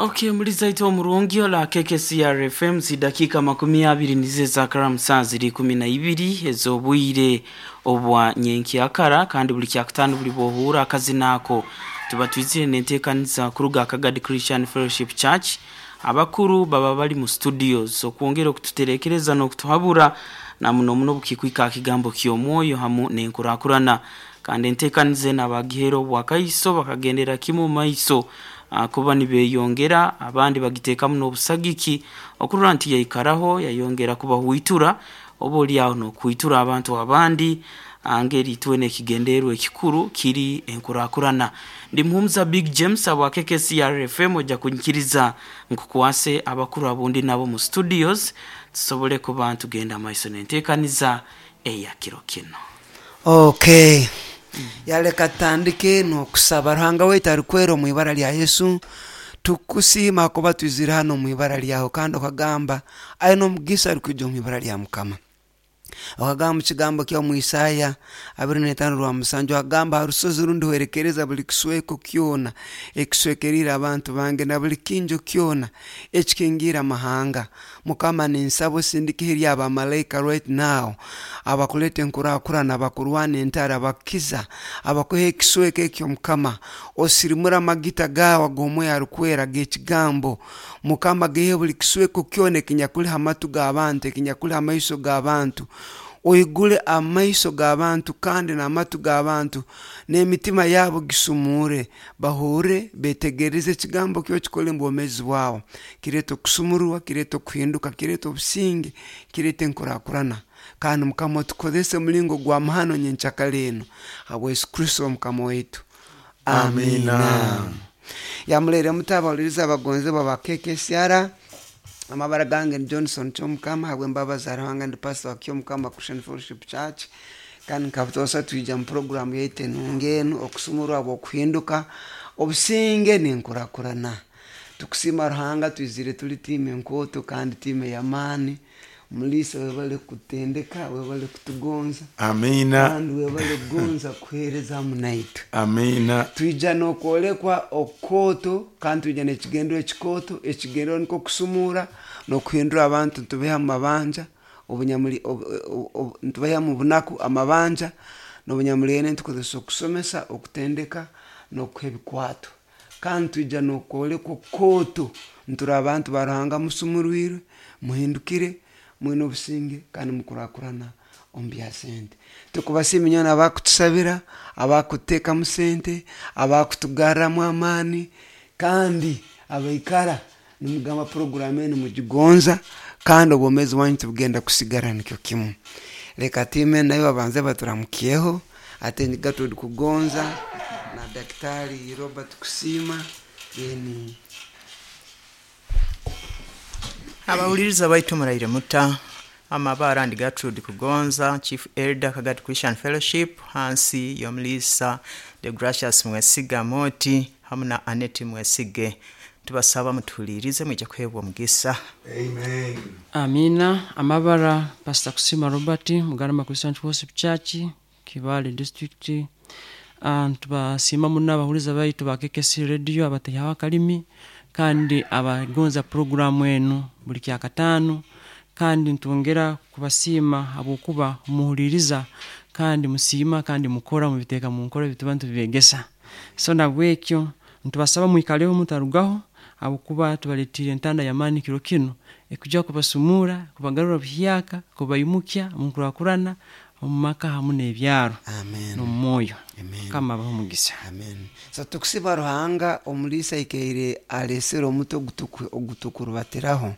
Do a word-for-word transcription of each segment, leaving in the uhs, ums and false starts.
Okay, mulizaito omurungi ola K K C R F M zidakika makumi abiri nize zakara musanzu kumi na ibiri ezobwire obwa nyenki akara kandi buli kyakutano buli bohura akazinako tuba twizire nenteekaniza kuruga Kagadi Christian Fellowship Church. Abakuru baba bali mu studios okwongera okututerekereza n'okutuhabura na muno muno bukikwika kigambo ky'omwoyo hamu n'enkurakurana kandi enteekanize n'abagihero bwakaiso bakagendera kimu maiso kuba nibeyongera abandi bagitekamu n'obusagiki okurora nti yaikaraho yayongera kubahuitura oba oli aho n'okuitura abantu abandi angeri itwe n'ekigendererwa ekikuru kiri enkurakurana. Ndi Muhumuza Big James abwa K K C R F M ojja kunyikiriza nkukwase abakuru abundi nabo mu studios tusobole kuba tugenda maiso n'enteekaniza eya kiro kino. Okay. Yaleka tandike n'okusaba Ruhanga waitu arikwera omu ibara lya Yesu. Tukusiima kuba twizire hano omu ibara lyawe kandi okagamba aine omugisa arikwija omu ibara lya Mukama. Okagamba kigambo kya mu Isaya abiri n'etaano rwa musanju agamba harusozi rundi hwerekereza buli kisweko kyona ekiswekerire abantu bange na buli kinjo kyona ekikingira amahanga. Mukama ninsaba osindike eri abamalaika right now abakuleta enkurakurana abakurwana entara abakiza abakuha ekisweko ekyo. Mukama osirimura amagita gawe ag'omwoyo arikwera g'ekigambo. Mukama gehe buli kisweko kyona ekinyakuli hamatu g'abantu ekinyakuli hamaiso g'abantu. Oigule amaiso g'abantu kandi n'amatu g'abantu n'emitima yabo gisumure bahure betegereze ekigambo kyo kikole mu bwomezi bwabo. Kireta okusumurwa, kireta okuhinduka, kireta obusinge, kireta enkurakurana. Kandi Mukama otukozese omulingo gwa mahano nyenkyakara eno habwa Yesu Kristo Mukama waitu. Amina. Yamulere mutabawuliriza abagonzebwa ba K K C R. Amabara gange ni Johnson Kyomukama habw'embabazi za Ruhanga ndi pastor wa Kyomukama Christian Fellowship Church kandi nkabutoosa twija mu programu yaitu enungi enu okusumurwa habw'okuhinduka obusinge n'enkurakurana. Tukusiima Ruhanga twizire tuli tiimu enkooto kandi tiimu ey'amaani. Mulisa webale kutendeka, webale kutugonza. Amina. Kandi webale kugonza kuheereza hamu naitwe. Amina. Twija n'okwolekwa okukooto kandi twija n'ekigendero ekikooto. Ekigendero nikwo kusumura n'okuhindura abantu nitubeha mu mabanja obunyamuli nitubeha mu bunaku amabanja n'obunyamulene nitukozesa okusomesa okutendeka n'okuha ebikwato. Kandi twija n'okwolekwa okukooto nturi abantu ba Ruhanga musumurwirwe muhindukire mwine obusinge kandi mukurakurana omu bya sente. Tukubasiima inywena abakutusabira abakuteekamu sente abakutugarramu amaani kandi abaikara nimugamba programu enu mugigonza kandi obwomeezi bwanyu tibugenda kusigara nikyo kimu. Leka tiime nayo babanze baturamukyeho ate Gertrude Kugonza na Daktari Robert Kusiima then abawuliriza baitu muraire muta. Amabara ndi Gertrude Kugonza, Chief Elder Kagadi Christian Fellowship, hansi y'omulisa the Gracious Mwesiga Moti hamu na Annette Mwesige. Tubasaba mutulirize mwije kuhebwa omugisa. Amen. Amina. Amabara Pastor Kusima Robert, Mugarama Christian Fellowship Church, Kibale District. Uh, tubasima muno abahuliza baitu ba K K C Radio abatehaho akalimi kandi abagonza programu enu buli kyakatano kandi ntwongera kubasiima habwokuba muhuliriza kandi musiima kandi mukora mubiteeka mu nkora ebituba ntubibegesa. So nabwekyo ntubasaba mwikaleho mutarugaho habwokuba tubaletire entanda y'amaani kiro kino ekuja kubasumura kubagarura buhyaka kubaimukya munkurakurana omu maka hamu n'ebyaro n'omwoyo. Mukama abahe omugisa. Amen. So tukusiba Ruhanga omulisa aikaire alesere omuti ogutukurubatiraho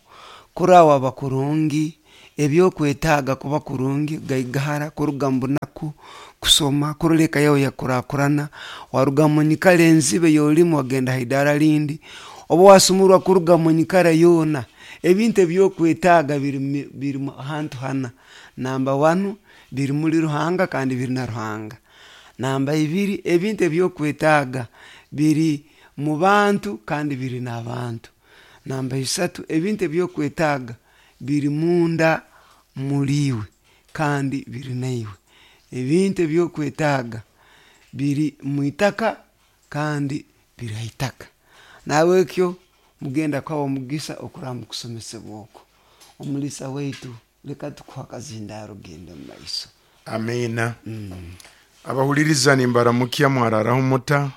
kurawa abakurungi ebyokwetaaga kuba kurungi gaigahara kuruga mu bunaku kusoma kuroleka yawe yakurakurana waruga mu nyikara enzibe yolimu wagenda haidara lindi oba wasumurwa kuruga mu nyikara yoona ebintu ebyokwetaaga biri biri ahantu hana. Namba one biri muri Ruhanga kandi biri na Ruhanga. Namba ibiri ebintu ebyokwetaaga biri mu bantu kandi biri n'abantu. Namba isatu ebintu ebyokwetaaga biri munda muriwe kandi biri naiwe. Ebintu ebyokwetaaga biri mu itaka kandi biri haitaka. Nawe ekyo Mugenda kwawa omugisa okuraba mu kusomesebwa okwo. Omulisa waitu, leka tukuha akazindaaro genda omu maiso. Amiina. Abahuliriza nimbaramukya, mwararaho muta?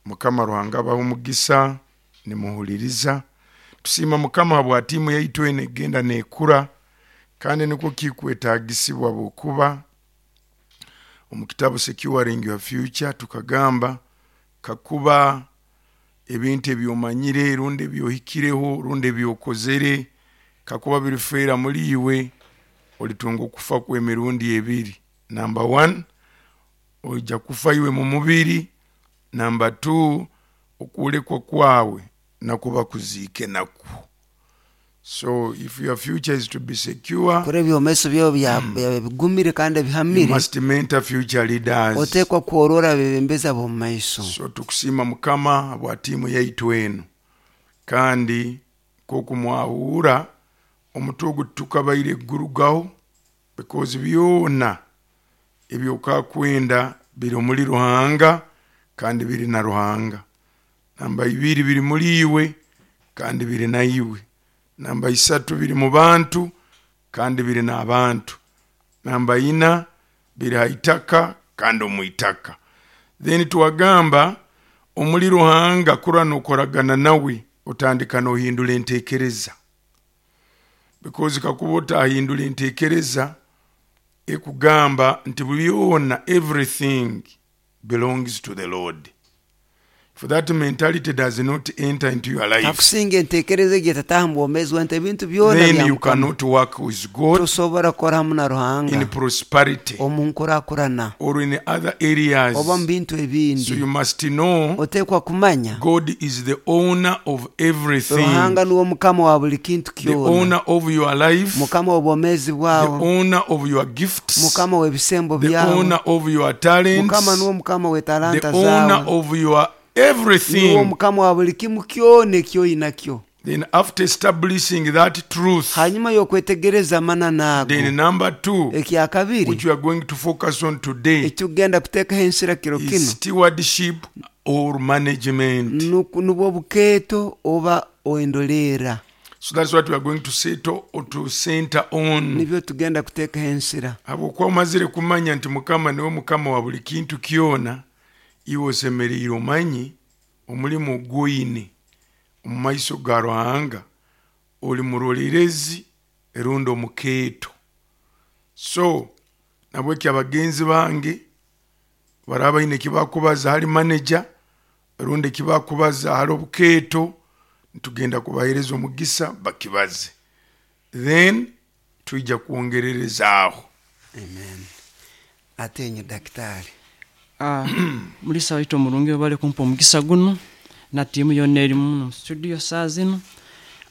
Mukama Ruhanga abaha omugisa nimuhuliriza. Tusiima Mukama habwa tiimu yaitu eno egenda nekura, kandi nikwo kikwetagisibwa bwokuba omu kitabu Securing Your Future tukagamba kakuba ebintu ebyomanyire rundi ebyohikireho rundi ebyokozere kakuba birifeera muri iwe, olitunga okufa kw'emirundi ebiri. Number one, oija kufa iwe mu mubiri. Number two, okulekwa kwawe nakuba kuziike nakwo. So if your future is to be secure, kora ebyomaiso byawe bya- bya- bigumire kandi you ebihamire, must mentor future leaders. Oteekwa kworora abebembezi ab'omu maiso. So tukusiima Mukama bwa tiimu yaitu eno, kandi nk'oku mwahuura omutwe ogu tukabaire gurugaho, because byona ebyokakwenda biri omuri Ruhanga kandi biri na Ruhanga. Namba ibiri, biri muri iwe kandi biri na iwe. Namba isatu, biri mu bantu kandi biri n'abantu. Namba ina, biri ha itaka kandi omu itaka. Then twagamba omuri Ruhanga kura nokoragana nawe otandika nohindura entekereza, because kakuba otahindura entekereza ekugamba nti byona, everything belongs to the Lord. For that mentality does not enter into your life, Kakusinga entekereza egi etataaha mu bwomeezi bwawe nti ebintu byona then bya you Mukama, cannot work with God tosobora kukora hamu na in Ruhanga prosperity omu nkurakurana or in other areas. Oba mu bintu So ebindi. you must know Oteekwa kumanya God is the owner of everything, Ruhanga nuwe mukama wa buli kintu the kyona, owner of your life, mukama w'obwomeezi the bwawe, owner of your gifts, mukama w'ebisembo the byawe, owner of your talents, mukama nuwe mukama the w'etalanta owner zaawe, of your nuwe everything. mukama wa buli kimu kyona ekyoyinakyo. Then after establishing that truth, Hanyuma y'okwetegereza amananu ago, then number two, ekyakabiri which we are going to focus on today, ekitugenda kuteekaho ensira kiro kino is stewardship or management. nuku- nubwo bukeeto oba endoleera. So that's what we are going to settle or to center on. Nibyo tugenda kuteekaho ensira. Habwokuba omazire kumanya nti Mukama niwe mukama wa buli kintu kyona, iwe osemereire omanye omulimu ogwoine omu maiso ga Ruhanga, oli murolerezi erundi omukeeto. So nabweki abagenzi bange baraba baine ekibakubaza hali manager rundi ekibakubaza hali obukeeto, nitugenda kubahereza omugisa bakibaze, then twija kwongererezaaho. Amen. Ate enye dakitari. Ah, mulisa waitu omurungi, webale kumpa omugisa guno na tiimu yonna eri muno mu studio saa zino.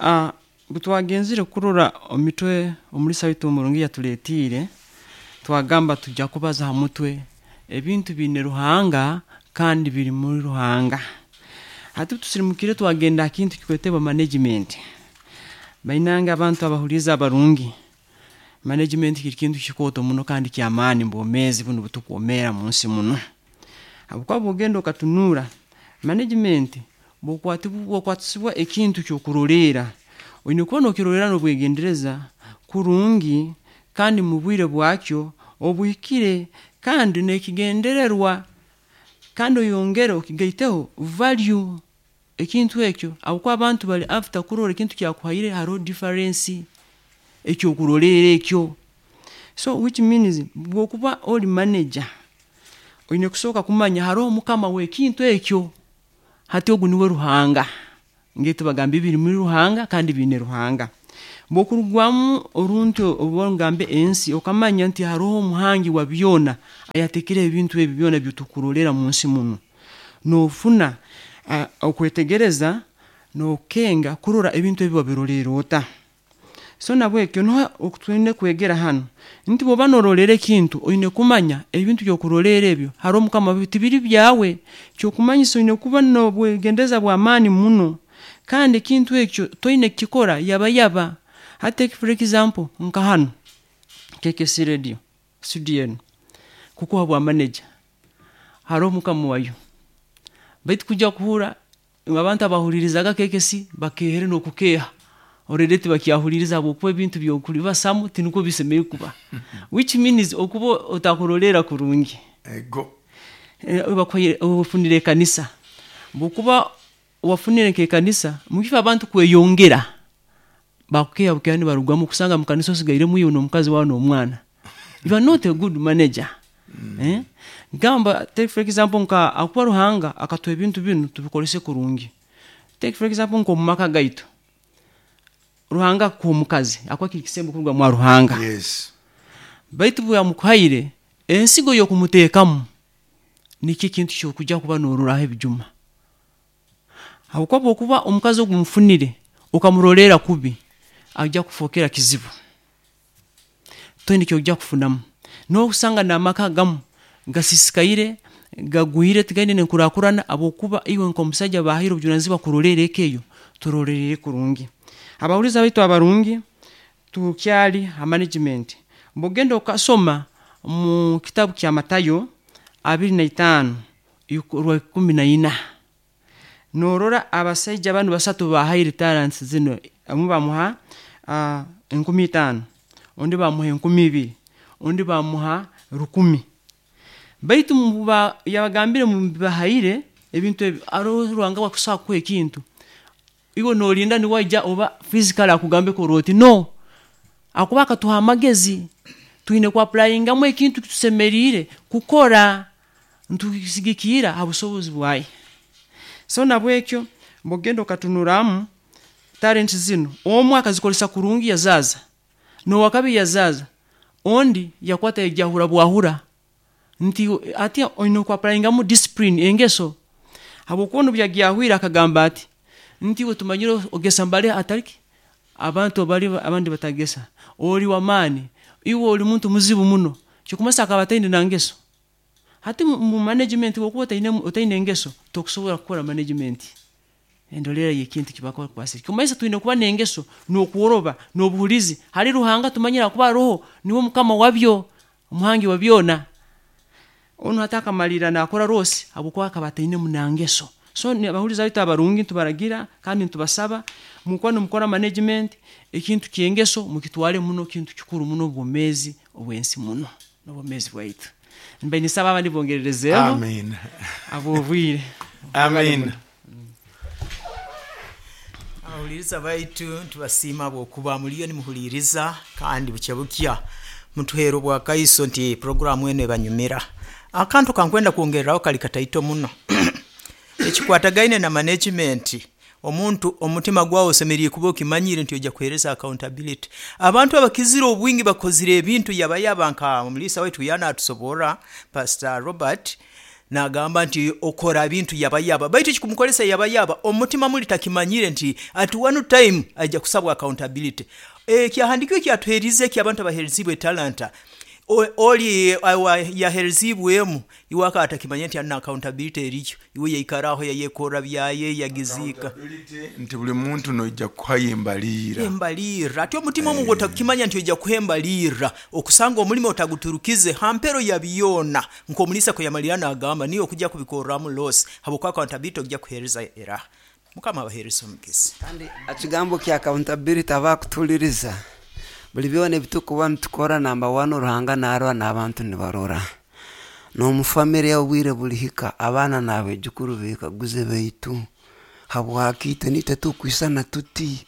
Ah, bwe twagenzire kurora omitwe omulisa waitu omurungi yatuletiire, twagamba tujja kubaza ha mutwe ebintu biine Ruhanga kandi biri muri Ruhanga. Hati tusirimukire twagenda ha kintu kikwetebwa management. Bainanga abantu abahuriza abarungi, management kiri kintu kikooto muno kandi kyamaani mu bwomeezi buno butukwomeera mu nsi muno, habwokuba bwogenda okatunura management, bwokwatibwa bwokwatisibwa ekintu kyokuroleera, oine kuba nokiroleera n'obwegendereza kurungi kandi mu bwire bwakyo obuhikire kandi n'ekigendererwa, kandi oyongere okigaiteho value ekintu ekyo, habwokuba abantu bali after kurora ekintu kyakuhaire haroho difference ekyokuroleera ekyo. So which means bwokuba oli manager, oine kusooka kumanya haroho mukama w'ekintu ekyo. Hati ogu niwe Ruhanga, ngaitu bagamba biri muri Ruhanga kandi biine Ruhanga. Bwokurugwamu oruntu oba ngambe ensi, okamanya nti haroho omuhangi wa byona ayatekere ebintu ebi byona byotukurolera mu nsi muno, nofuna uh, okwetegereza nokenga kurora ebintu ebi wabiroleera ota. So nabwekyo niho okutwine kwegera hano nti bwoba norolera ekintu, oine kumanya ebintu byokuroleera ebyo hariho mukama, tibiri byawe. Kyokumanyisa oine kuba nobwegendeza bw'amaani muno kandi ekintu ekyo toine kukikora yaba yaba. Hati for example nka hano K K C Radio studio eno kukuha bwa manager, hariho mukama wayo, baitu kujya kuhura Abantu abahulirizaga K K C bakehere n'okukeha already tibakyahuliriza habwokuba ebintu byokulibasamu tinukwo bisemeye kuba, which means okuba otakurolera kurungi. Ego Ofunire ekanisa, bwokuba wafunire nk'ekanisa mukifo abantu kweyongera bakukeha bukeha nibarugamu kusanga mu kanisa osigairemu iwe n'omukazi wawe n'omwana. You are not a good manager. Mm. Eh? Gamba take for example nka akuba Ruhanga akatuha ebintu binu tubikolese kurungi. Take for example nko mumaka gaitu. Ruhanga akuha omukazi akuha kiri kisembo kuruga mwa Ruhanga. Yes. Baitu bwe yamukuhaire ensigo y'okumuteekamu nikyo ekintu ky'okujja kuba n'ororaho ebijuma. Habwokuba bw'okuba omukazi ogu mufunire okamurolera kubi ajja kufookera kizibu. Toine ky'ojja kufunamu. N'okusanga n'amaka gamu gasisikaire gagwire tigaine nenkurakurana habwokuba iwe nk'omusajja bahaire obujunanizibwa kurolera eka eyo turolerere kurungi. Abahuriza baitu abarungi tukyali ha management. Bwogenda okasoma mu kitabu kya Matayo abiri na itaano rwa ikumi na ina norora abasaija banu basatu bahaire talents zino, amwe bamuha uh, enkumi itaano, ondi bamuha enkumi ibiri, ondi bamuha rukumi. Baitu yabagambire mubahaire ebintu ebi aro Ruhanga wakusobola kukuha ekintu iwe nolinda niwaija oba physical akugambe koroti no akuba akatuha amagezi twine ku applyingamu ekintu kitusemeriire kukora ntusigikira ha busobozi bwaye. So nabwekyo mbogenda okatunuramu talents zino omwe akazikolesa kurungi yazaza nowakabi yazaza ondi yakwata yajahura bwahura nti ati oine ku applyingamu discipline engeso habwokuba byagiyahwira akagamba ati nti we tumanyire ogesa mbale atariki abantu bali abandi batagesa oli wamani iwe oli muntu muzibu muno kikumasa akabataine nangeso. Hati mu management wokuba otaine otaine engeso tokusobola kukora management endolera yekintu kibakora kwasi kumaisa twine kuba nengeso n'okuworoba n'obuhulizi hali Ruhanga tumanyira kuba roho niwe mukama wabyo omuhangi wa byona. Ono hataka malira nakora rose habwokuba akabataine munangeso. So abahuliza baitu abarungi ntubaragira kandi ntubasaba mukwano mukora management ekintu kyengeso mukitwale muno kintu kikuru muno obwomezi obwensi muno n'obwomezi bwaitu. Mbe nisaba abandi bongererezeho. Amen. Abobwire. Amen. Abahuliriza baitu ntubasiima bwokuba muliyo nimuhuliriza kandi bukya bukya mutuheera obwakaiso nti programu eno ebanyumira. Akantu kankwenda kwongereraho kali kataito muno. Ekikwatagaine na management omuntu omutima gwawe osemeriire kuba okimanyire nti ojja kuheereza accountability. Abantu abakizire obwingi bakozire ebintu yabayaba nka omulisa waitu yana atusobora Pastor Robert nagamba nti okora bintu yabayaba baitu kikumukolesa yabayaba omutima muli takimanyire nti at one time ajja kusabwa accountability. E kyahandikiwe kyatuherize ki abantu abaherizibwe talanta oli yaherizibwemu iwaka atakimanya nti ana accountability eriyo iwe yaikaraho yayekora byaye yagizika nti buli muntu noija kuhaye embalira embalira ati omutima eh. Omungu otakimanya nti ojja kuhembalira okusanga omulimo otaguturukize hampero ya byona nkomulisa ko yamalira agamba niyo okujja kubikoramu loss habwokuba accountability ojja kuhereza era mukama abahereza omugisa. Kandi ekigambo kya accountability abakutuliriza buli byona ebitukuba nitukora namba one Ruhanga narora n'abantu nibarora n'omufamily obwire bulihika abaana n'abejukuru bekaguze baitu habwaki nitwe tukwisana tuti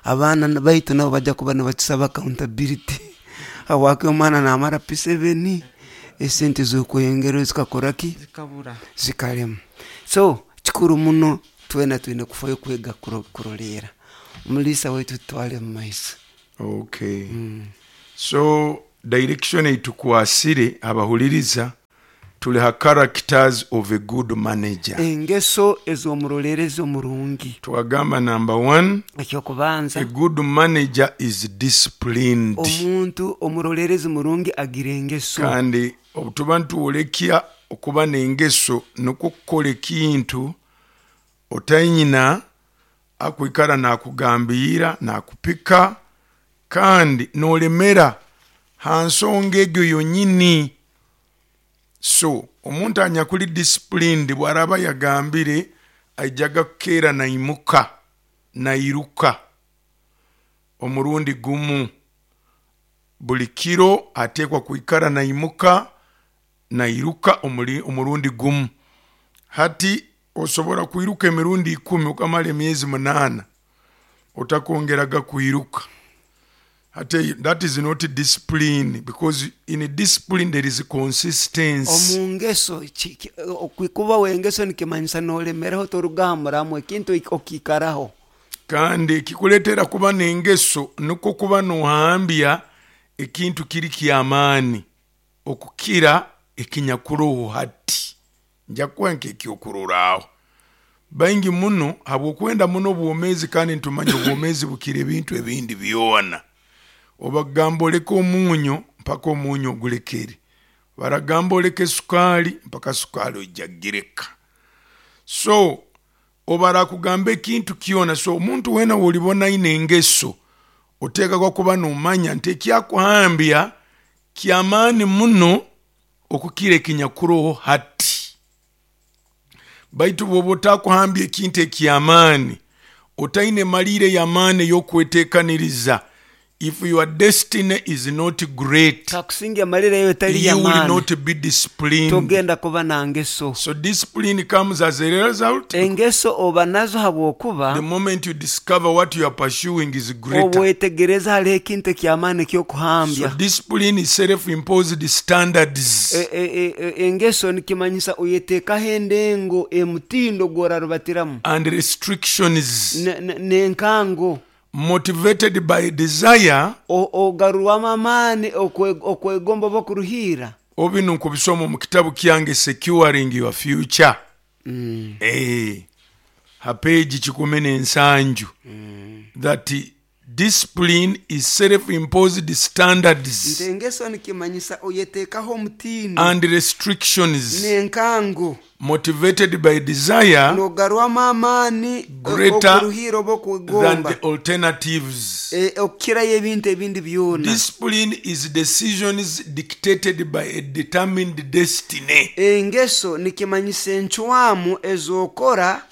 abaana baitu nabo bajja kuba nibatusaba accountability habwaki omwana namara P seven esente z'okweyongera zikakoraki zikabura zikalema. So kikuru muno twena twine kufayo kwega kurolera omulisa waitu tutwale mu maiso. Okay. Mm. So direction eitukwasire abahuliriza tuli ha characters of a good manager. Engeso ez'omurolerezi omurungi. Twagamba number one, ekyokubanza, a good manager is disciplined. Omuntu omurolerezi murungi agira engeso. Kandi obutuba ntuwolekia okuba n'engeso nukwo kukola ekintu otanyina akwikara nakugambira nakupika kandi nolemera hansonga egyo yonyini. So omuntu anyakuli disciplined bwaraba yagambire aijaga kukeera naimuka nairuka omurundi gumu buli kiro ateekwa kwikara naimuka nairuka omuli- omurundi gumu. Hati osobora kwiruka emirundi ikumi okamara emyezi munaana otakongeraga kwiruka. Hati that is not discipline, because in discipline there is consistency. Omu ngeso ki- ki- okwikuba wengeso nikimanyisa nolemeraho torugahamuramu ekintu ik- okiikaraho. Kandi ekikuleetera kuba n'engeso nukwo kuba nohambya ekintu kiri kyamaani okukira ekinyakuroho hati. Nja kukuha nk'ekyokuroraaho baingi muno habw'okwenda muno obwomeezi, kandi nitumanya obwomeezi bukira ebintu ebindi byona. Obagamba oleke omunyo mpaka omunyo ogulekere, baragamba oleke sukaali mpaka sukaali oija kugireka. So obarakugamba ekintu kyona. So omuntu weena wolibona aine engeso oteekakwa kuba nomanya nti ekyakuhambya kyamaani muno okukira ekinyakuroho hati. Baitu bwoba otakuhambya ekintu ekyamaani, otaine maliire y'amaani ey'okweteekaniriza, if your destiny is not great, kakusinga emalire eyo etali you will yamaani not be disciplined. Togenda kuba na ngeso. So discipline comes as a result. Engeso oba nazo The habwokuba moment you discover what you are pursuing is greater. obwetegereza haliho ekintu ekyamaani So ekyokuhambya. discipline is self-imposed standards E- e- e- engeso nikimanyisa oyeteekaho endengo emutindo gworarubatiramu and restrictions Ne- ne- n'enkango motivated by desire. O- ogarurwamu amaani okwe- okwegomba oba okuruhiira. Obino nkubisoma mu kitabu kyange Securing Your Future, mm. eh, ha page kikumi n'ensanju, mm. that discipline is self-imposed standards nti engeso nikimanyisa oyeteekaho omutindo and restrictions n'enkango motivated by desire nogarwamu amaani Greater okuruhiira oba than okwegomba the alternatives. E, okukirayo ebintu ebindi byona. Discipline is decisions dictated by a determined destiny. Engeso nikimanyisa encwamu ezokora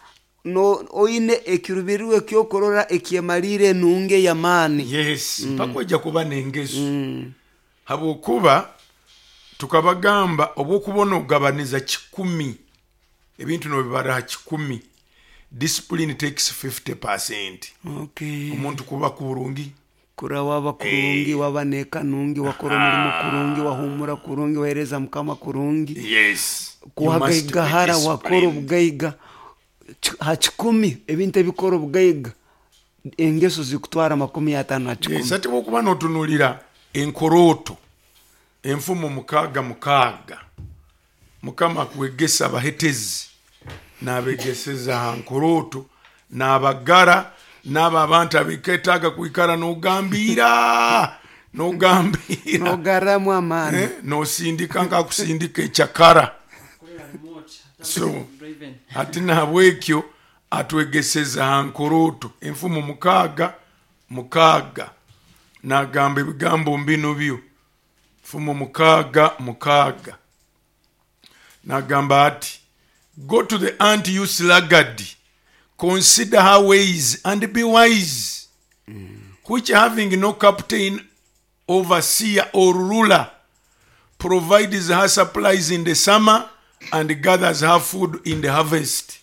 no oine ekirubirirwe ekyokurora ekyemaliire enungi ey'amaani. Yes, mpaka ojja kuba n'engeso, habwokuba tukabagamba obwokubona ogabaniza kikumi ebintu nobibara ha kikumi, discipline takes fifty percent. Okay. Omuntu kuba kurungi kura waba kurungi, waba neka nungi, wakora omulimo kurungi, wahumura kurungi, wahereza mukama kurungi, yes you must be kuhagaigahara wakora disciplined. Obugaiga Ki- ha kikumi ebintu ebikora obugaiga engeso zikutwara makumi ataano ha kikumi. Yes, ate bwokuba notunulira enkorooto enfumo mukaaga mukaaga mukama akwegesa abahetezi n'abegeseza ha nkorooto n'abagara n'abo abantu abeketaaga kwikara n'ogambiira n'ogambiira nogarramu amaani. Eh, n'osindika nkakusindika ekyakara. So ati nahabwekyo atwegeseza ha nkorooto enfumo mukaaga mukaaga nagamba ebigambo mbino byo. Nfumo mukaaga mukaaga nagamba ati, "Go to the ant, you sluggard, consider her ways and be wise, which having no captain, overseer or ruler, provides her supplies in the summer and gathers her food in the harvest.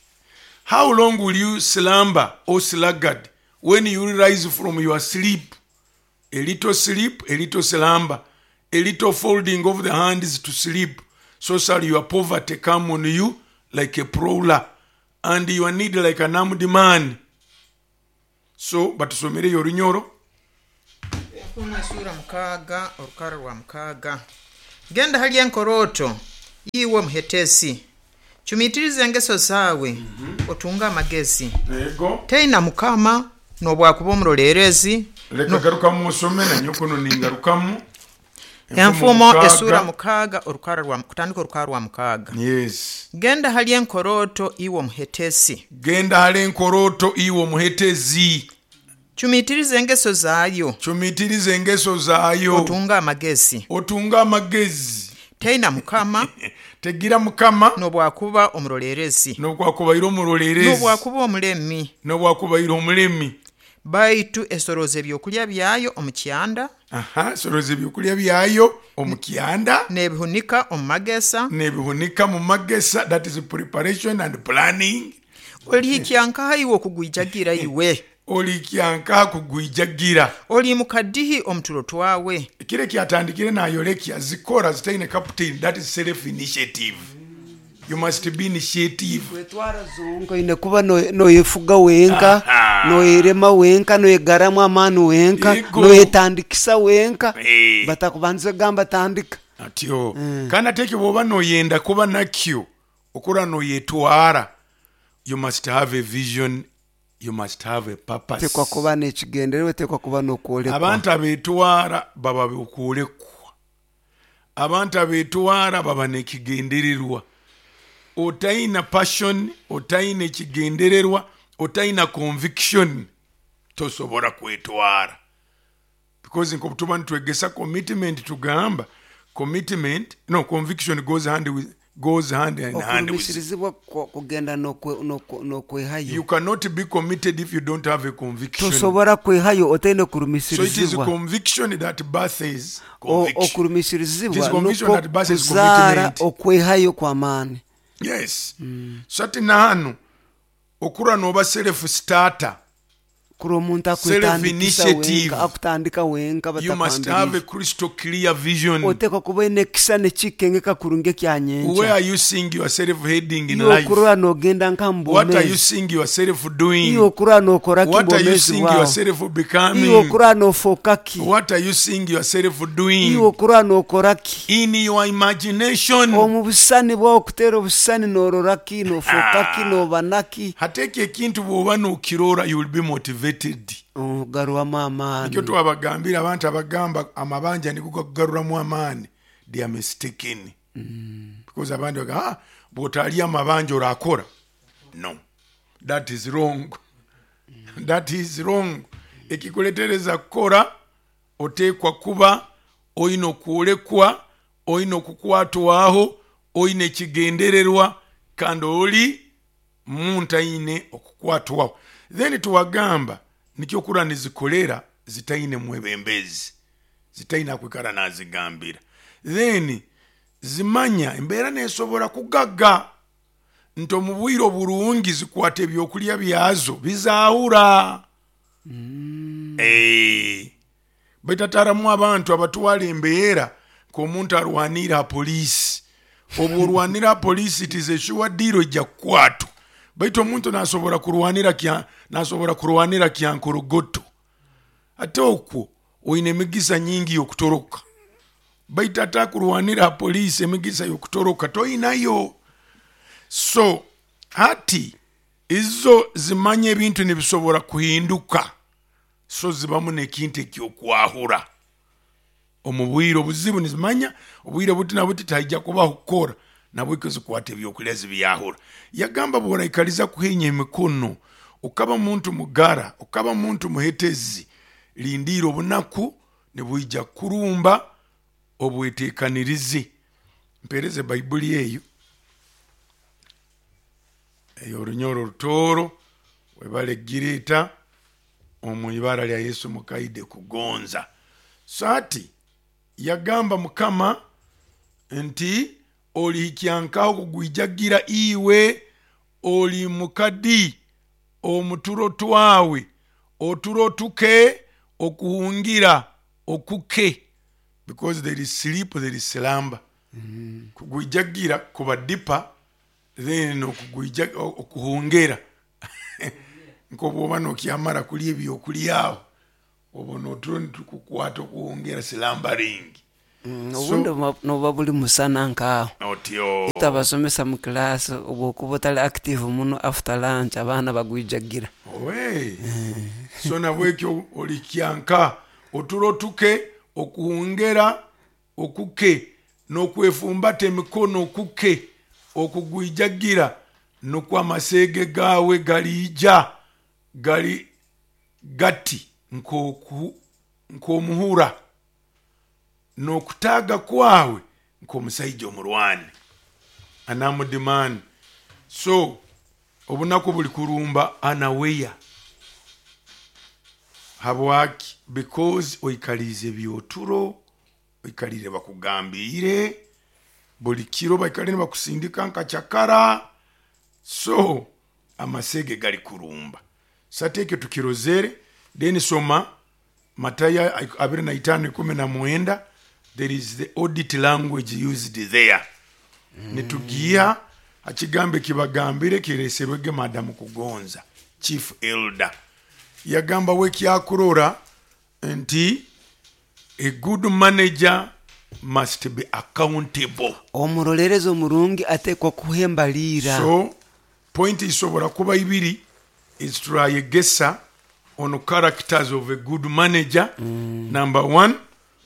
How long will you slumber, O sluggard, when you rise from your sleep? A little sleep, a little slumber, a little folding of the hands to sleep. So shall your poverty come on you like a prowler, and your need like an armed man." So batusomereyo orunyoro. Enfumo esura mukaaga orukara rwa mukaaga. Genda hali enkorooto iwe muhetesi, cumitiriza engeso zaawe, otunge amagezi. Ego. Teina mukama nobwakuba omuroleerezi. Leka garukamu osome nanyokono ningarukamu. Enfumo esura mukaaga orukara rwa kutandika orukara rwa mukaaga. Yes. Genda hali enkorooto iwe omuhetesi, genda hali enkorooto iwe omuhetezi, cumitiriza engeso zaayo, cumitiriza engeso zaayo, otunge amagezi. Otunge amagezi. Teina mukama. Tegira mukama. Nobwakuba omurolerezi. Nobwakubaire omurolerezi. Nobwakuba omulemi. Nobwakubaire omulemi. Baitu esoroza ebyokulya byayo omu kyanda. Aha, esoroza ebyokulya byayo omu kyanda. Nebihunika omu magesa. Nebihunika mu magesa, that is preparation and planning. Olihikya nkaha iwe okugwijagira iwe? Olihikya nkaha kugwijagira? Oli mukadihi omuturo twawe. Kile kyatandikire nayolekya zikora zitaine captain, that is self initiative. You must be initiative. Wetwara zonka ine kuba noyefuga wenka, noyerema wenka, noyegaramu amani wenka, noyetandikisa wenka. Hey. Batakubanza gamba tandika. Atyo. Mm. Kana teke bwoba noyenda kuba nakyo, okura noyetwara. You must have a vision. You must have a purpose. Tekwa kuba n'ekigendererwa, tekwa kuba n'okwolekwa. Abantu abetwara baba okwolekwa. Abantu abetwara baba n'ekigendererwa. Otaina passion, otaina ekigendererwa, otaina conviction, tosobora kwetwara. Because nkobutuba nitwegesa commitment, tugamba commitment, no, conviction goes hand with, goes hand in hand with. Okurumishirizibwa kugenda n'okwehayo. You cannot be committed if you don't have a conviction. Tosobora kwehayo otaine kurumishirizibwa. So it is conviction that births conviction. Okurumishirizibwa nukwo kuzaara okwehayo kwa maani. Yes. Mm. So ati nahanu okura noba self starter. Kuri omuntu akwetandikisa wenka, akutandika wenka. You must have a crystal clear vision. Otekwa kuba nekisa nekikengeka kurungi kyanyencha. Where are you seeing yourself heading in life? Iyo nogenda nka mbomezi. What are you seeing yourself doing? Iyo okura nokora ki What are you mbomezi seeing wawe? yourself becoming? Iyo okura nofoka ki? What are you seeing yourself doing? Iyo okura nokora ki? In your imagination. Omu busani bwawe okutera obusani norora ki, nofoka ki, nobana ki? Hateke ekintu bwoba nokirora, you will be motivated. Ogarwamu amaani. Nikyo twabagambira abantu abagamba amabanja niguga kugaruramu amaani, they are mistaken. Mm. Because abandi bagamba, ah, bw'otalya amabanja orakora. No. That is wrong. Mm. That is wrong. Ekikuletereza kukora, oteekwa kuba oyina okwolekwa, oyina okukwatwaho, oyina ekigendererwa, kandi oli muntu ayine okukwatwaho. Then tuwagamba nikyo kura nizikolera zitaine mwebembezi, zitaine kwikara nazigambira. Then zimanya embeera nesobora kugaga nto mu bwiro burungi zikwate ebyokulya byazo bizaahura. Mm. Eh, baitataramu abantu abatwala embeera nk'omuntu arwanira poliisi. Obu orwanira poliisi, it is a sure deal ejja kukwatwa. Baitu omuntu nasobora kurwanira kya nasobora kurwanira kyankorogoto. Ate okwo oyine emigisa nyingi yokutoroka. Baitu ata kurwanira poliisi emigisa yokutoroka toyinayo. So hati izo zimanye ebintu nibisobora kuhinduka. So zibamu nekintu ekyokwahura. Omu bwire obuzibu nizimanya obwire buti na buti taijja kubaho kukora. Nabwiko zikwata ebyokulya zibyahura. Yagamba bw'oraikaliza kuhenya emikono, ukaba muntu mugara, ukaba muntu muhetezi, lindira obunaku nibwija kurumba obwetekanirize. Mpereze Baibuli eyo eyo orunyoro rutoro webale gireta omu ibara lya Yesu mukaide kugonza. So ati yagamba mukama nti olihikyankaho kugwijagira iwe oli mukadi omuturo twawe oturo tuke okuhungira okuke, because there is sleep, there is slumber. Mm. Kugwijagira kuba deeper then okugwija okuhungera nkobwoba nokyamara kulya ebyokulyaho obona oturo nitukukwata okuhungera slumbering. Mm, obundi noba buli musana nkaho. Otyo. Itabasomesa mu class obwokuba otali active muno after lunch abaana bagwijagira. Owe. So nabwekyo olikyanka oturo tuke okuhungera okuke n'okwefumbata emikono okuke okugwijagira nukwo amasege gawe galija gali gati nkoku nkomuhura n'okutaga kwawe Nk'omusaija omurwani, an armed man. So obunaku buli kurumba anaweya. Habwaki? Because oikaliize byoturo, oikalire bakugambiire buli kiro, baikalire nibakusindika nka cakara. So amasege gali kurumba. Sati ekyo tukirozere. Then soma Matayo abiri na itaano ikumi na mwenda. There is the audit language used there. Mm. Nitugiha akigambo ekibagambire kireserwege madamu Kugonza, chief elder. Yagamba we kyakurora nti a good manager must be accountable. Omurolerezi omurungi atekwa kuhembalira. So point isobora kuba ibiri eziturayegesa on characters of a good manager. Mm. Number one,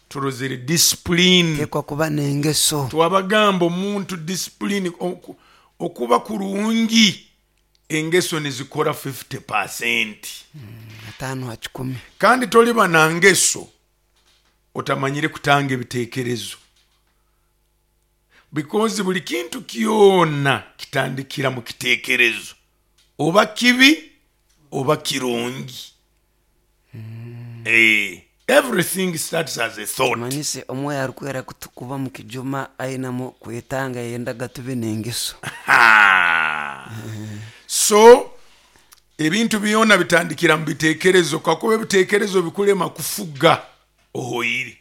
turozere discipline. Tekwa kuba n'engeso. Twabagamba omuntu discipline oku, okuba kurungi, engeso nizikora fifty percent. Mm, atano ha kikumi. Kandi toliba na ngeso otamanyire kutanga ebitekerezo, because buli kintu kyona kitandikira mu kitekerezo, oba kibi oba kirungi. Mm. Eh, everything starts as a thought. Manyise omwoyo arukwera kutukuba mu kijuma ainamu kwetanga yendaga tube n'engeso. So ebintu byona bitandikira mu bitekerezo, kakuba ebitekerezo bikulema kufuga ohoire.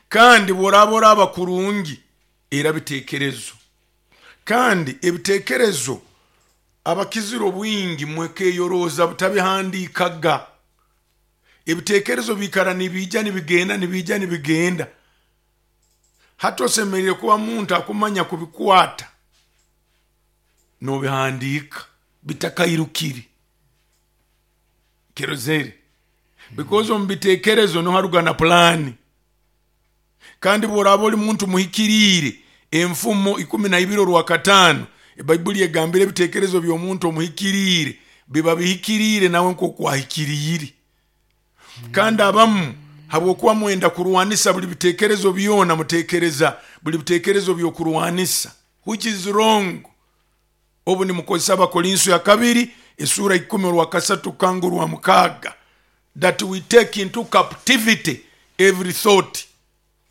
Kandi bworaba oraba kurungi era bitekerezo. Kandi ebitekerezo abakizira obwingi mwekeyoroza butabihandikaga. Ebitekerezo bikara nibija nibigenda nibija nibigenda. Hata osemerire kuba muntu akumanya kubikwata nobihandika bitakairukiri kerozere. Because omu bitekerezo noharuga na plani. Kandi bworaba oli muntu muhikiriire, enfumo ikumi na ibiri orwa kataano, ebaibuli egambire ebitekerezo by'omuntu omuhikiriire biba bihikiriire nawe nk'okwahikiriire. Kandi abamu habwokuba mwenda kurwanisa buli bitekerezo byona, mutekereza buli bitekerezo by'okurwanisa, which is wrong. Obu nimukozesa Abakorinso ya kabiri esura ikumi orwa kasatu kangu rwa mukaaga, that we take into captivity every thought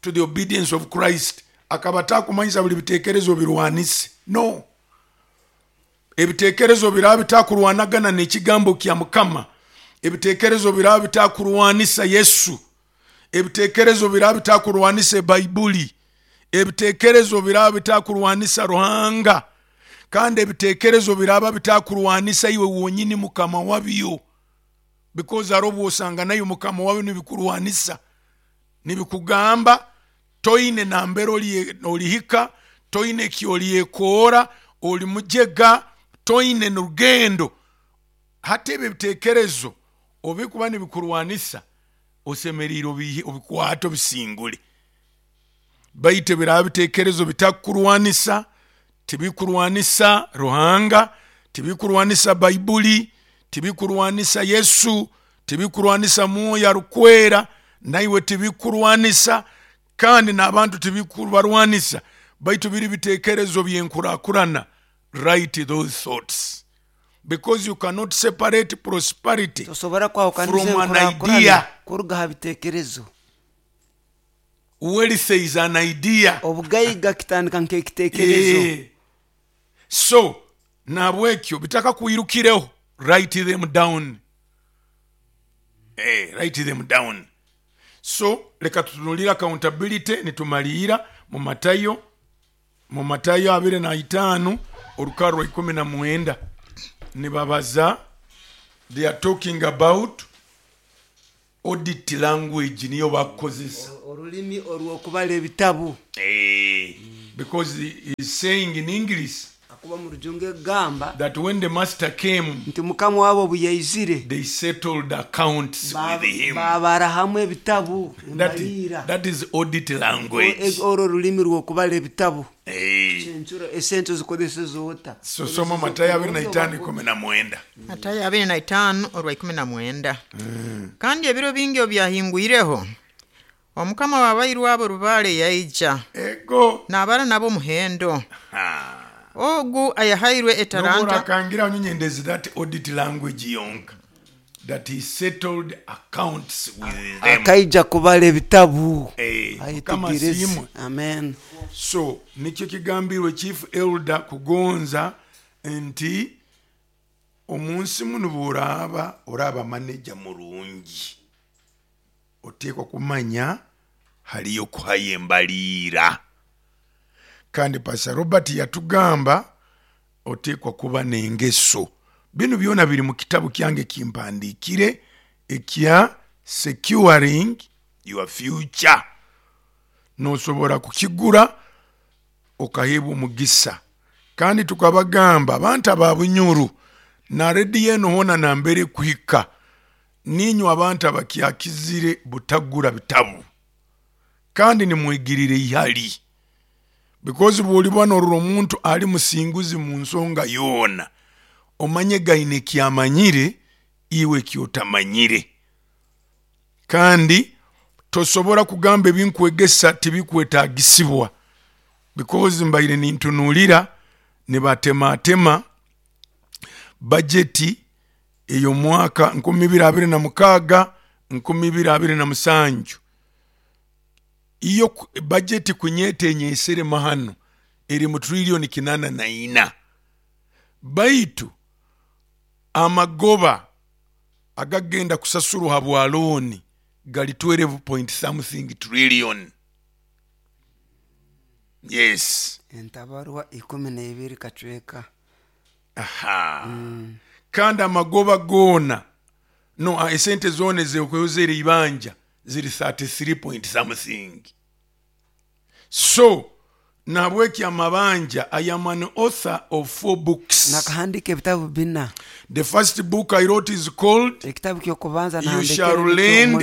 to the obedience of Christ. Akaba takumanyisa buli bitekerezo birwanise. No, ebitekerezo biraba bitakurwanagana n'ekigambo kya Mukama, ebitekerezo biraba bitakurwanisa Yesu, ebitekerezo biraba bitakurwanisa Baibuli, ebitekerezo biraba bitakurwanisa Ruhanga, kandi ebitekerezo biraba bitakurwanisa iwe wonyini Mukama wabyo. Because arobu osanga nayo Mukama wabyo nibikurwanisa, nibikugamba toine nambere olihika, toine kyolyekoora, oli mujega, toine n'urugendo. Hata ebyo ebitekerezo obikuba nibikurwanisa osemerire obikwate obisingule. Baitu biraba bitekerezo bitakurwanisa, tibikurwanisa Ruhanga, tibikurwanisa Baibuli, tibikurwanisa Yesu, tibikurwanisa Mwoyo arukwera, naiwe tibikurwanisa, kandi n'abantu tibikubarwanisa. Baitu biri bitekerezo byenkurakurana. Write those thoughts, because you cannot separate prosperity tosobora kwahukaniza from an enkurakurana idea. Kuruga ha bitekerezo. Wealth is an idea. Obugaiga kitandika nk'ekitekerezo. Eh. So nabwekyo bitaka kuirukireho, write them down. Eh, write them down. So leka tutunulira accountability nitumalira mu Matayo, mu Matayo abiri na itaano orukaro ikumi na mwenda. Nibabaza, they are talking about audit language niyo bakozesa. Orulimi orw'okubala ebitabu. Eh, because he is saying in English Akuba mu rujungu egamba that when the master came, nti Mukama wabo obu yaizire, they settled accounts ba- with him. babara hamwe ebitabu That, embalira. that is audit language. O- orwo rulimi rw'okubala ebitabu. Eh. Enchuro esente zikozesa zota. So soma Matayo abiri na itaano ikumi na mwenda. Matayo abiri na itaano orwa ikumi na mwenda. Kandi ebiro bingi obyahingwireho Omukama w'abairu abo rubaale yaija ego n'abara nabo muhendo. Ogu ayahairwe etaranta akangira nyendezi that audit language yonka that he settled accounts with them. Akaija kubala ebitabu. Eh, Mukama asiimwe. Amen. So nikyo kigambirwe Chief Elder Kugonza nti omunsi muno bw'oraaba oraaba manager murungi oteekwa kumanya haliyo kuhayo embaliira. Kandi Pastor Robert yatugamba oteekwa kuba n'engeso. Bino byona biri mu kitabu kyange kimpandiikire ekya Securing Your Future. Nosobora kukigura okaheebwa omugisa. Kandi tukabagamba abantu aba Bunyuru na rediyo eno hoona nambere kuhika ninywe abantu abakyakizire butagura bitabu kandi nimwigirire ihali, because bw'oliba norora omuntu ali musinguzi mu nsonga yoona omanye gaine kyamanyire iwe kyotamanyire. Kandi tosobora kugamba ebinkwegesa tibikwetagisibwa, because mbaire nintunulira nibatematema bajeti ey'omwaka nkumi bibiri abiri na mukaaga nkumi bibiri abiri na musanju. Iyo bajeti kunyete enyesere mahano eri mu trillioni kinana na ina, baitu amagoba agagenda kusasurwa habwa looni gali twelve point something trillion. Yes, entabarwa ikumi na ibiri kacweka. Aha. Mm. Kandi amagoba gona no esente zone zekwezera ibanja ziri thirty-three point something. So nabweki amabanja, I am an author of four books. Nakahandika ebitabu bina. The first book I wrote is called Ekitabu kyokubanza You Shall Lend Not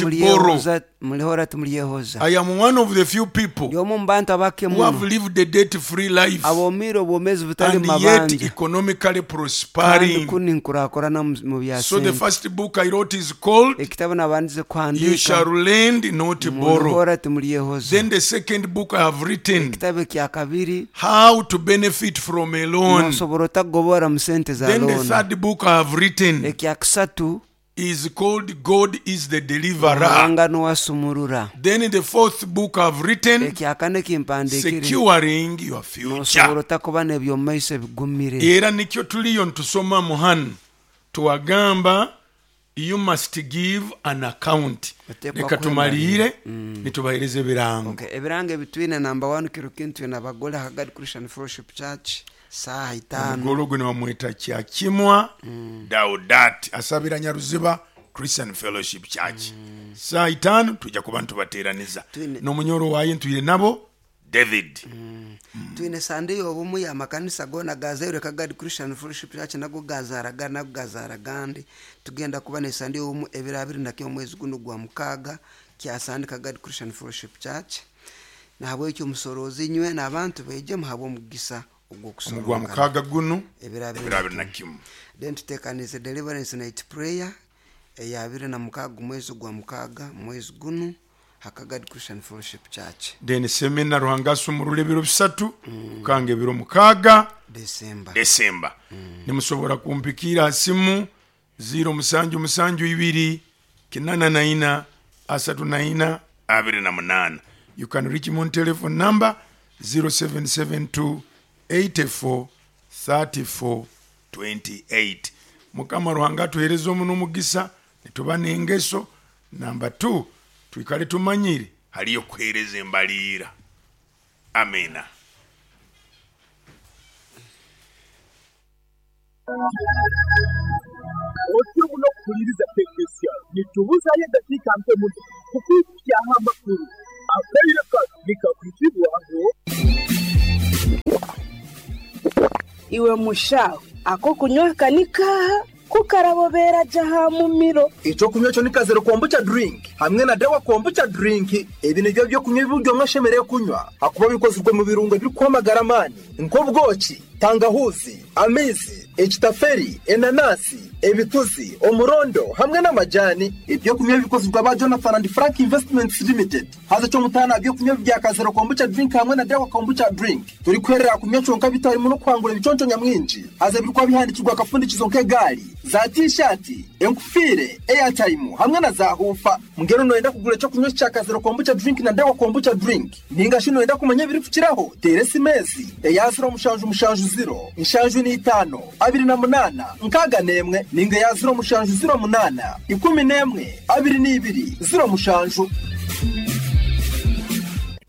Borrow. Mulihora timulyehoza. I am one of the few people Yomu mbantu abake who have lived a debt free life abomire obwomezi butali and yet mabanja economically prospering. Kuni nkurakorana mu bya So the first book I wrote is called Ekitabu nabandize kuhandika You Shall Lend Not Borrow. Mulihora timulyehoza. Then the second book I have written, Ekitabu kya kabiri, How to Benefit from a Loan. Nosobora otagobora mu sente za Then the loan. third book I have written Ekya kusatu is called God is the Deliverer. Ruhanga nuwasumurura. Then the fourth book I have written, Ekya kane kimpandikire, Securing Your Future. Nosobora otakuba n'ebyomumaiso ebigumire. Era nikyo tuliyo ntusoma muhanu tuwagamba you must give an account. Reka tumalire nitubahereze ebirango. Okay, ebirango ebitwine number one kiro kintu nabagole Hagad Christian Fellowship Church saha itano. Omugolo guno bamweta Kyakimwa mm. Daudati asabira Nyaruziba Christian Fellowship Church. Mm. Saa itano tujja kuba ntubateeraniza n'omunyoro waye ntwire nabo David. Mm. Mm. Twine Sunday obumu ya makanisa gona gazaire Kagad Christian Fellowship Church nago gazaraga nago gazaragandi. Tugenda kuba ne Sunday obumu ebiro abiri na kimwe mwezi guno gwa mukaga kya Sunday Kagad Christian Fellowship Church. Nahabwekyo omusorozi nywe n'abantu beje muhabwe omugisa ogwa mukaga guno ebiro abiri na kimwe. Then tutekanize deliverance night prayer eya abiri na mukaga mwezi gwa mukaga mwezi guno Hakagad Christian Fellowship Church. Then seminar Ruhanga asumurule ebiro bisatu mm. kange ebiro mukaga December. December. Mm. Nimusobora kumpikira simu zero musanju musanju ibiri kinana na ina asatu na ina abiri na munana. You can reach me on telephone number zero seven seven two eighty-four thirty-four twenty-eight. Mukama Ruhanga tuhereze omuno omugisa nituba n'engeso. Number two, twikale tumanyire haliyo kuhereza embaliira. Amena. Otyo muno kukuliriza K K C R nitubuzayo eddakiika mpe muno kukwikyaho amakulu akaire kano nikakwitibwaho. Iwe mushaho ako kunywa kanika kukarabobera jaha mumiro. Icyo kunywa cyo ni kazero kombucha drink hamwe na dawa kombucha drink. Ebi nibyo byo kunywa ibiryo mwashemereye kunywa akuba bikozwe mu birungo biri kwamagara amani nk'ubwoki, tangahuzi, amizi, Ekitaferi, enanasi, ebituzi, omurondo hamwe n'amajani. Ebyokunywa bikozirwa ba Jonathan and Frank Investments Limited. Haza kyomutana ebyokunywa bya Kazero Kombucha Drink hamwe na Dawa Kombucha Drink. Turi kwerera kunywa kyonka bitarimu no kwangura ebiconco nyamwingi. Haza birikwa bihandikirwa akafundikizo nk'egaari, za t-shirt, enkufire, airtime hamwe na za hufa. Mungero noyenda kugura ekyokunywa kya Kazero Kombucha Drink na Dawa Kombucha Drink. Ninga shi noyenda kumanya ebiri kukiraho, tere simezi eya ziro mushanju mushanju ziro, nshanju n'itano, abiri na munana, nkaga n'emwe, ninga ya ziro mushanju ziro munana, ikumi n'emwe, abiri n'ibiri, ziro mushanju.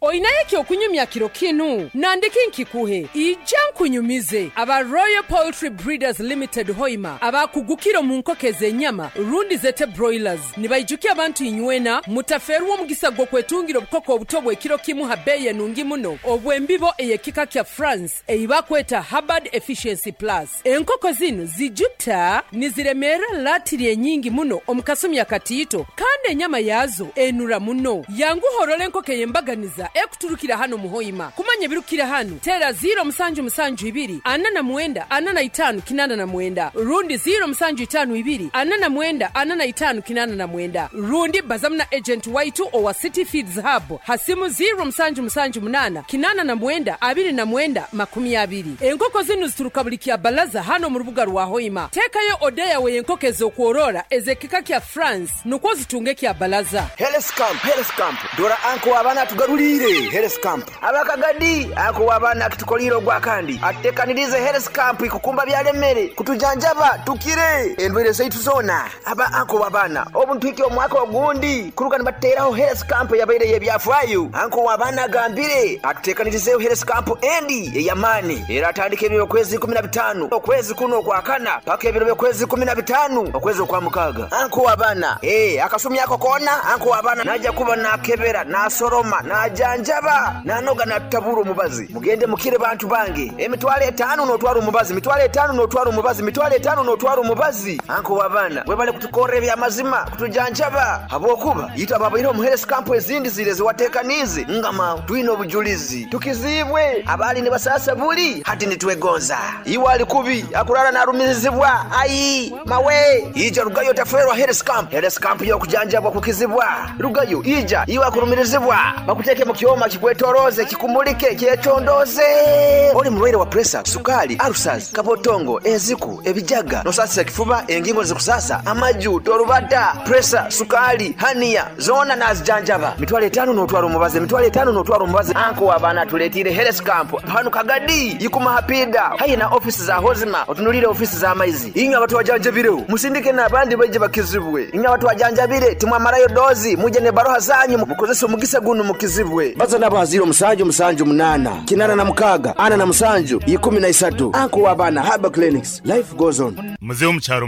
Oinaye ekyokunyumya kiro kinu nandiki nkikuhe ija nkunyumize aba Royal Poultry Breeders Limited Hoima abakugukira mu nkoko ez'enyama rundi zete broilers nibaijukia abantu inywena mutaferwa omugisa gw'okwetungira obukoko obuto bw'ekiro kimu ha beeyi enungi muno obw'embibo ey'ekika kya France eibakweta Hubbard Efficiency Plus. Enkoko zinu zijuta niziremera latiri enyingi muno omu kasumi akatiito kandi enyama yazo enura muno. Yanguhorora enkoko ey'embaganiza ekuturukira hano muhoima. Kumanya birukira hano tera ziro musanju musanju ibiri ana na mwenda ana na itanu kinana na mwenda rundi ziro musanju itanu ibiri ana na mwenda ana na itanu kinana na mwenda rundi bazamna agent waitu owa City Feeds Hub hasimu ziro musanju musanju munana kinana na mwenda abiri na mwenda makumi abiri. Enkoko zinu zituruka buli kya balaza hano mu rubuga rwa Hoima. Tekayo odeya we enkoko ez'okworora ezekika kya France nukwo zitunge kya balaza. Health Camp, Health Camp dora anko abana tugarulire Health Camp abakagadi ako wabana kitukoliro gwa kandi atekanirize Health Camp ikukumba byalemere kutujanjaba tukire endwere zaitu zona aba anko wabana obuntu iki omwaka ogundi kuruka nibateraho Health Camp yabaire yebyafwayo anko wabana gambire atutekanirize Health Camp endi eyamani era atandike ebiro kwezi kumi na bitano okwezi kuno kwakana paka ebiro kwezi kumi na bitano okwezi kwa mukaga anko wabana eh akasumi yako kona anko wabana naja kuba nakebera nasoroma najanjaba nanoga natabura omubazi mugende mukire bantu bange emitwale etano notwara omubazi mitwale etano notwara omubazi mitwale etano notwara omubazi anko wabana webale kutukorera ebyamazima kutujanjaba habwokuba yita babaire omu Health Camp ezindi zire ziwatekanize ngama twine obujulizi tukizibwe abali ne basasa buli hati nitwegonza iwe ali kubi akurara narumizibwa ayi mawe ija rugayo taferwa Health Camp Health Camp yo kujanjabwa kukizibwa rugayo ija iwe akurumirizibwa bakuteke mu kyoma kikwetoroze kikumulike kyetondoze oli mulwaire wa pressure sukali ulcers kabotongo eziku ebijaga nosasa kifuba engingo zikusasa amaju torubata pressure sukali hania zona nazijanjaba mitwale etano notwara omubazi mitwale etano notwara omubazi anko wabana tuletire Health Camp hanu kagadi yikuma hapida hayi na office za hozima otunulire office za maizi inga watu wajanjabire musindike n'abandi baje bakizibwe inga watu wajanjabire timwamarayo dozi muje ne baroha zanyu mukozesa omugisa gunu mukizibwe baza nabo haziro musanju musanju munana kinana na mukaga ana na musanju ikumi na isatu anko wabana Haba Clinics life goes on. Mzee omukyaro